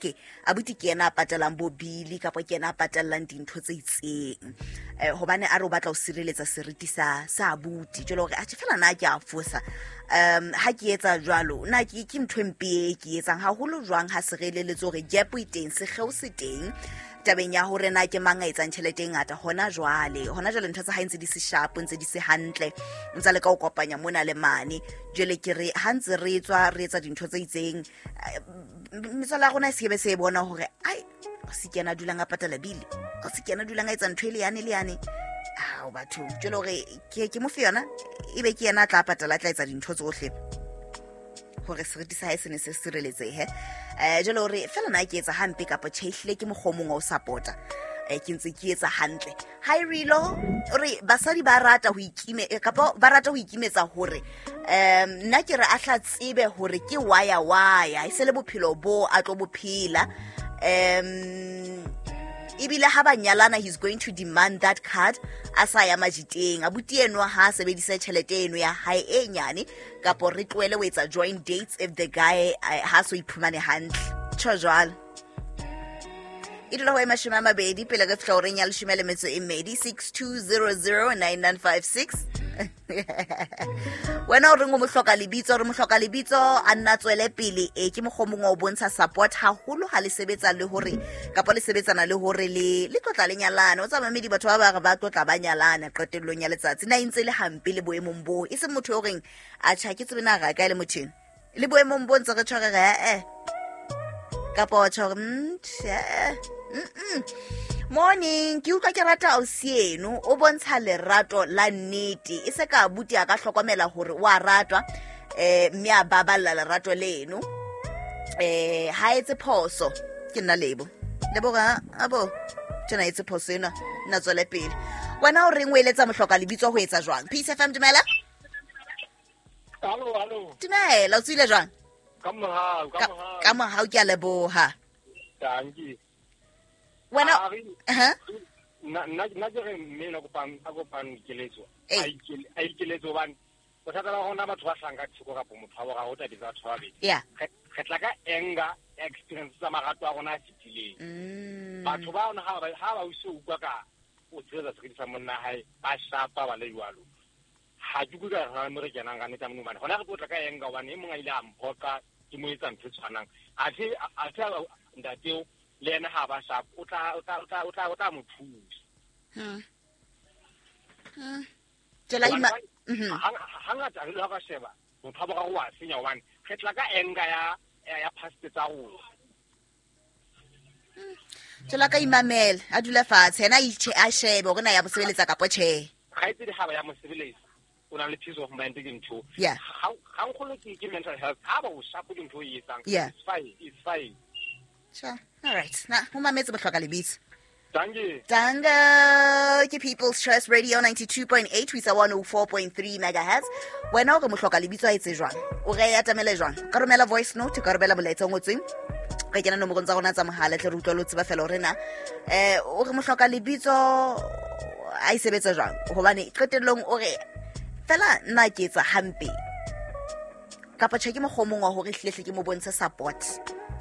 Ke abuti ke yena a patalang bo bili kapa ke yena a patalang dintho tse itseng hobane a re o batla ho sireletsa seriti sa sa abuti. Jwale hore atjhe fela na ke a fosa ha ke etsa jwalo, na ke ke ntho e mpe e ke etsang haholo jwang ha se re eleletse hore gap e teng, sekgeo se teng tabeng ya hore na ke mang a etsang tjhelete e ngata hona jwale. Hona jwale ntho tsa hae ntse di se sharp, ntse di se hantle, ntse a leka ho kopanya mona le mane. Jwale ke re ha ntse re tswa re etsa dintho tse itseng, metswala ya rona e sekebe se e bona hore ai o se ke yena a dulang a patala bile, o se ke yena a dulang a etsa ntho e le yane le yane. Ao batho, jwale hore ke mo fe yona ebe ke yena a tla patala, a tla etsa dintho tsohle hore seriti sa hae se ne se sireletsehe. Jwale hore fela na ke etsa hampe kapa tjhe, ehlile ke mokgwa o mong wa ho support-a. Ke ntse ke etsa hantle. Ha e rilo re basadi ba rata ho ikime, kapa ba rata ho ikimetsa hore nna ke re a hla tsebe hore ke waya waya, e se le bophelo bo a tlo bophela. Ebile ha ba nyalana, he's going to demand that card a sa ya majiteng. Abuti enwa ha a sebedise tjhelete eno ya hae e nyane, kapo re tlohele ho etsa joint dates if the guy ha so iphumane hantle. Tjho jwalo. E dula ho e 20 pele re fihla horeng ya 12. 62009956. Wena o reng o mo hloka lebitso, re mo hloka lebitso a nna tswele pele. E ke mokgwa o mongwe wa ho bontsha support haholo ha le sebetsa le hore kapa le sebetsana le hore le tlotla le nyalane. O tsa mamedi batho ba ba re ba tlotla ba nyalana qetellong ya letsatsi. Na e ntse le hampe le boemong boo, e seng motho yo reng a tjha ke tsebe na ra kae le motho eno. Le boemong bo ntse re tshware re eh kapa wa tjho hore, tjhe, Morning, ke utlwa ke rata ausi eno, o bontsha lerato la nnete. E se ka abuti a ka hlokomela hore o a ratwa, mme a baballa lerato leno. Ha etse phoso, ke nna Lebo. Lebo ga abo tjena etse phoso ena, nna tswele pele. Wena o reng o eletsa mohloka lebitso ho etsa jwang? Peace FM, dumela. Hallo, hallo. Dumela, o tswile jwang? Ka mohau, ka mohau. Ka mohau, ke a leboha. Dankie. Wena, A re, aha. Nna ke re mme na kopang, a kopang dikeletso. Ee. A a ikeletso hobane bothata ba rona batho ba hlahang ka theko kapa motho wa boraro o tabetse batho ba babedi. Re tla ka anger experience tsa marato a rona a fetileng. Batho ba rona ha ba uso utlwa ka o tshehetsa seriti sa monna hae, ba shapa ba le jwalo. Ha ke utlwe ka re hona mo re kenang ka nnete mona hobane hona re tlo tla ka anger hobane e mong a ile a mphoqa ke mo etsa ntho e tshwanang. Athe, athe ntateo le yena ha ba sharp, o tla mo thusa. Tsela Hobane ima- hangata re le ha ka sheba, motho wa boraro wa senya hobane re tla ka anger ya past tsa rona. Tsela ka imamela, a dule fatshe, yena a itjhe, a shebe hore na ya mo sebeletsa kapa tjhe. Kgaitsedi ha ba ya mo sebeletsa, o na le peace of mind ke ntho. Ha nkgolo ke mental health, ha ba o sharp ke ntho e etsang. It's fine, it's fine. Sure. All right. Na, ho mametse bohloka lebitso. Danke. Danke. Ke People's Choice Radio 92.8 ho isa 104.3 megahertz. Wena o re mohloka lebitso a etse jwang? O re atamele jwang? Ka romela voice note, ka romela molaetsa o ngotsweng. Re kena nomorong tsa rona tsa mohala, tle re utlwe le ho tseba fela hore na, o re mohloka lebitso a e sebetsa jwang? Hobane qetellong o re fela nna ke etsa hampe. Kapa tjhe ke mokgwa o mong wa hore hlehle ke mo bontshe support,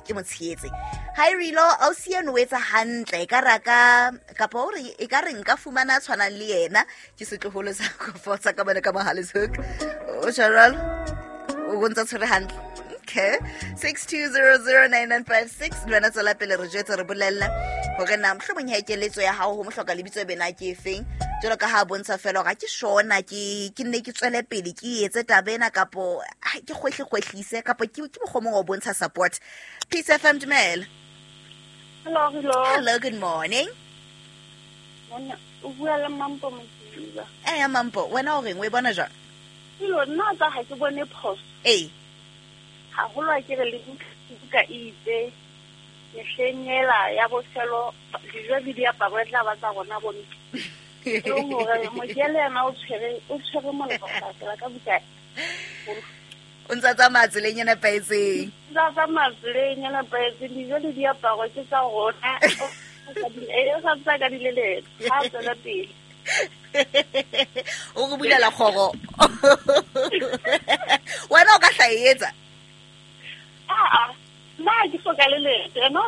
ke mo tshehetse. Ha e rilo, ausi eno o etsa hantle, e ka re a ka, kapa o re, e ka re nka fumana a tshwanang le yena, ke setloholo sa Kofosa ka mane ka Mohale's Hoek. O tjho jwalo? O bontsa tshwere hantle. Okay. 62009956. Le wena tswela pele re jwetse, re bolelle hore na mohlomong ha keletso ya hao ho mohloka lebitso e bena ke efeng. Jwalo ka ha bontsha fela hore ha ke shona, ke nne ke tswele pele ke etse taba ena kapo, ha, ke kgwehle-kgwehlise, kapo ke mokgwa o mong wa ho bontsha support. Peace FM, dumela. Hello, hello. Hello, good morning. Monna, o bua le Mampo Modiba. Eh, Mampo, wena o reng o e bona jwang? Hello, nna tsa ha ke bone phoso. Ee. Haholo ha ke re le buka e itse, mehleng ela ya bofelo, dijo le diaparo e tla ba tsa rona bo ntlo. E leng hore mokele yena o tshwere molemo ho latela ka buka. O ntsa tsamaya tseleng e nepahetseng. O ntsa tsamaya tseleng e nepahetseng, dijo le diaparo ke tsa rona. O sa ntsa ka di leleka, ha a tswela pele. O re bulela kgoro. Wena o ka hla e etsa? Aa, nna ha ke hloka le letho, ena o